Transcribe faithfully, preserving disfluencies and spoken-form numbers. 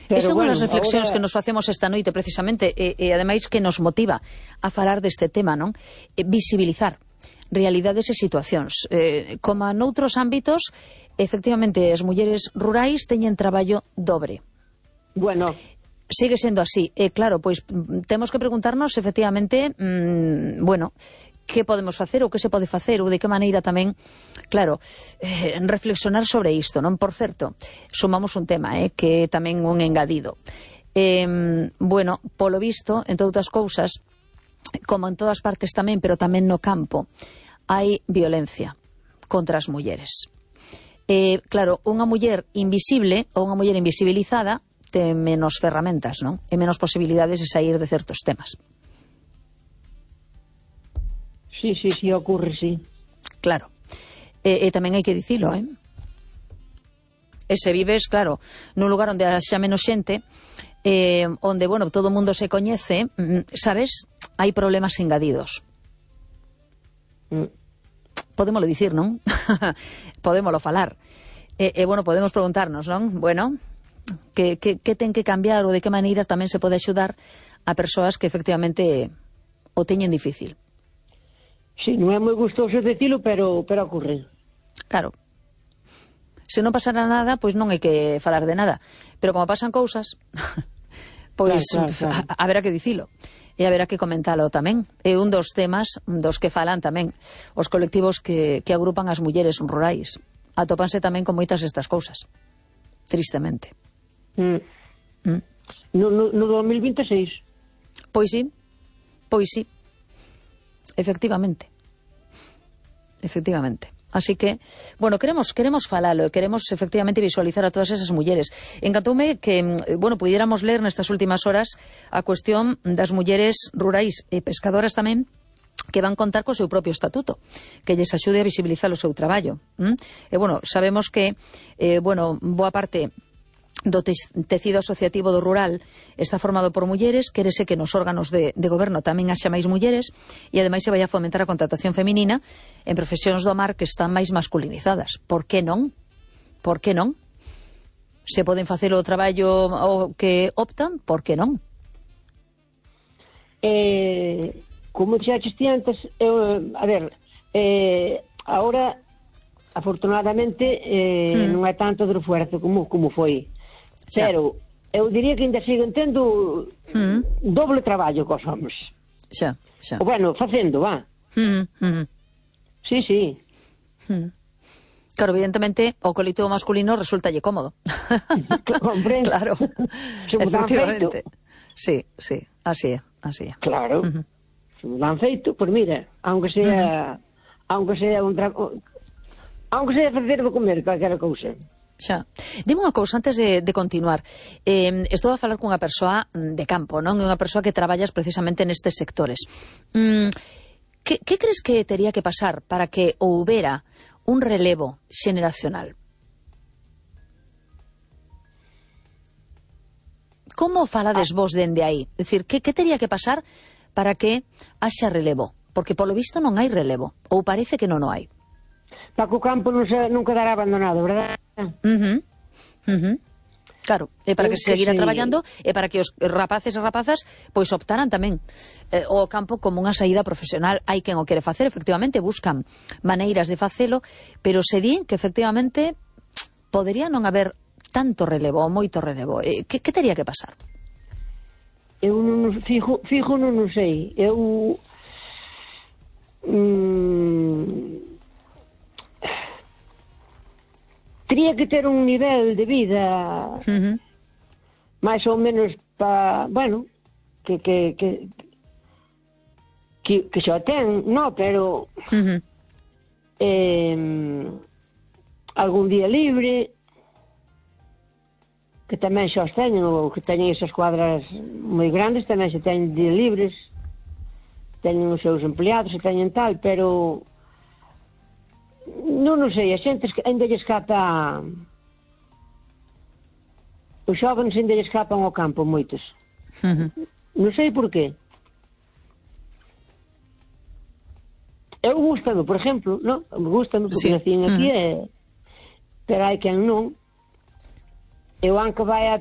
Pero, esa é unha bueno, das reflexións ahora... que nos facemos esta noite precisamente e, e ademais que nos motiva a falar deste tema, non? E, visibilizar realidades e situacións. Eh, como noutros ámbitos, efectivamente, as mulleres rurais teñen traballo dobre. Bueno... Sigue sendo así. E, claro, pois temos que preguntarnos, efectivamente, mmm, bueno, que podemos facer ou que se pode facer ou de que maneira tamén, claro, eh, reflexionar sobre isto, non? Por certo, sumamos un tema, eh, que tamén un engadido. Eh, bueno, polo visto, entre outras cousas, como en todas partes tamén, pero tamén no campo, hai violencia contra as mulleres. Eh, claro, unha muller invisible ou unha muller invisibilizada ten menos ferramentas, non? E menos posibilidades de sair de certos temas. Sí, sí, sí, ocurre, sí. Claro. E, e tamén hai que dicilo, eh? E se vives, claro, nun lugar onde haxa menos xente, eh, onde, bueno, todo o mundo se coñece, sabes, hai problemas engadidos. Mm. Podémolo dicir, non? Podémolo falar. E, e, bueno, podemos preguntarnos, non? Bueno... Que, que, que ten que cambiar ou de que maneira tamén se pode axudar a persoas que efectivamente o teñen difícil. Sí, non é moi gustoso decilo, pero, pero ocurre. Claro. Se non pasara nada, pois non hai que falar de nada. Pero como pasan cousas, pois claro, claro, claro. haberá que dicilo. E haberá que comentalo tamén. É un dos temas dos que falan tamén os colectivos que, que agrupan as mulleres rurais. Atópanse tamén con moitas destas cousas. Tristemente. Mm. Mm. No, no, no dos mil veintiséis. Pois sí, pois sí. Efectivamente. Efectivamente. Así que, bueno, queremos queremos falalo, queremos efectivamente visualizar a todas esas mulleres. Encantoume que, bueno, pudiéramos ler nestas últimas horas a cuestión das mulleres rurais e pescadoras tamén, que van contar co seu propio estatuto, que lles axude a visibilizar o seu traballo. ¿Mm? E, bueno, sabemos que, eh, bueno, boa parte do tecido asociativo do rural está formado por mulleres, quérese que nos órganos de, de goberno tamén haxa máis mulleres e ademais se vai a fomentar a contratación feminina en profesións do mar que están máis masculinizadas. Por que non? Por que non? Se poden facer o traballo o que optan, por que non? Eh, como dixaste ti antes, eu, a ver, eh, ahora afortunadamente eh, hmm. non é tanto de esfuerzo como, como foi. Xa. Pero eu diría que ainda siguen tendo mm. doble traballo cos homens. Xa, xa. O bueno, facendo, va. Mm, mm. Sí, sí. Mm. Claro, evidentemente, o colectivo masculino resultalle cómodo. Comprendo. Claro, efectivamente. Sí, sí, así é, así é. Claro. Uh -huh. Se me dan feito, pois mira, aunque sea, uh -huh. aunque sea un tra... aunque sea facer de comer, calquera cousa. Xa. Dime unha cousa antes de, de continuar. Eh, estou a falar cunha persoa de campo, non? Unha persoa que traballas precisamente nestes sectores. Mm, que, que crees que tería que pasar para que houbera un relevo xeneracional? Como falades ah. vos dende aí? É dicir, que, que tería que pasar para que haxa relevo? Porque polo visto non hai relevo, ou parece que non o hai. Para que o campo non, se, non quedará abandonado, verdad? Uh -huh. Uh -huh. Claro, e para que se seguira traballando e para que os rapaces e rapazas pois optaran tamén eh, o campo como unha saída profesional. Hai quen o quere facer, efectivamente, buscan maneiras de facelo, pero se din que efectivamente podería non haber tanto relevo ou moito relevo. Eh, que, que teria que pasar? Eu non fijo, fijo non, non sei. Eu mm, tería que ter un nivel de vida uh -huh. máis ou menos pa, bueno, que que que que, que xa ten, no, pero uh -huh. eh, algún día libre, que tamén xa os teñen, ou que teñen esas cuadras moi grandes, tamén xa teñen día libres, teñen os seus empleados, e teñen tal, pero non, non sei, a xente ainda lle escapa, os xóvenes ainda lle escapan ao campo moitos. Uh -huh. Non sei por qué. Eu gustame, por exemplo, non? Gustame porque sí. Nacín aquí, uh -huh. e... pero hai quen non. Eu, aunque vai a